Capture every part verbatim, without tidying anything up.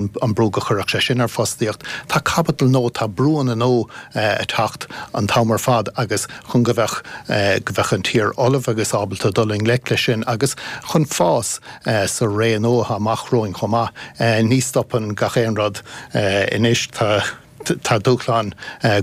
An brú go chuirfeadh sé sin ar fostaíocht. Tá caibidil nua, tá brúanna nua ag teacht an t-am ar fad agus chun go bheadh go bheadh an tír ullamh agus ábalta dul i ngleic leis sin agus chun fás sa ré nua atá amach romhainn chomh maith. Ní stopann gach aon rud anois. Tá tá dúshláin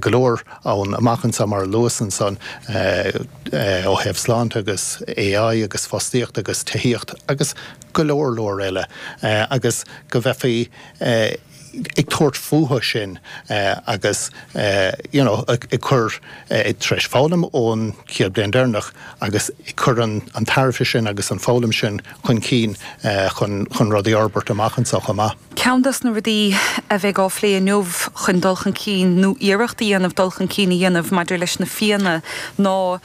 go leor ann amach anseo, mar a luas ansan, ó thaobh sláinte agus A I agus fostaíocht agus tithíocht agus go leor leor eile, agus go bheifí ag tabhairt fúthu sin agus you know ag cur, tar éis foghlaim ón chéad bliain deireanach agus ag cur an an tairbhe sin agus an foghlaim sin chun cinn chun chun rudaí a fhorbairt amach anseo chomh maith. Ceann des na rudaí a bheidh á phlé inniu chun dul chun cinn nó iarracht a dhéanamh dul chun cinn a dhéanamh maidir leis na fianna ná,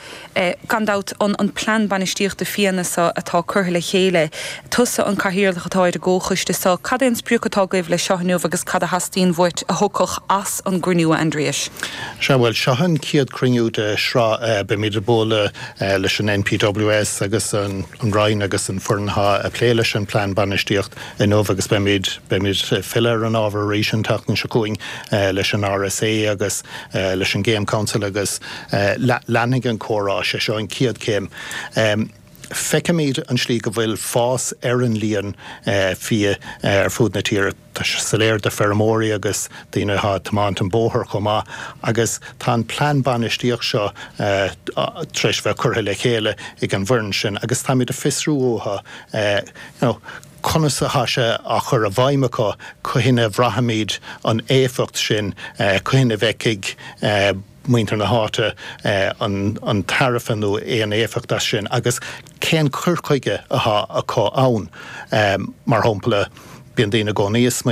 gan dabht, an an plean bainistíochta fianna seo atá curtha le chéile. Tusa an cathaoirleach atá ar an gcomhchoiste seo. Cad é an sprioc atá agaibh leis seo inniu agus cad a theastaíonn uait a thiocfadh as an gcruinniú, a Aindriais? Sea, bhuel, seo an chéad chruinniú de shraith. Beimid ag bualadh leis an N P W S agus an Roinn agus an foireann atá ag plé leis an plean bainistíocht inniu agus beimid beimid ag filleadh ar an ábhar arís an tseachtain seo chugainn leis an R S A agus leis an Game Council agus leanfaidh an comhrá. Sé seo an chéad chéim. Feicimid an slí go bhfuil fás ar an líon fia ar fud na tíre. Tá sé soiléir do feirmeoirí agus daoine atá ag tiomáint an bóthar chomh maith, agus tá an plean bainistíocht seo tar éis bheith curtha le chéile ag an bhfoireann sin agus táimid ag fiosrú uathu you know, conas atá sé á chur i bhfeidhm acu, cathain a bhraithfimid an éifeacht sin, cathain a bhfeicfidh muintir na háite an an tairbhe nó aon éifeacht as sin agus cén cur chuige atá acu ann. Mar shampla, bíonn daoine i gcónaí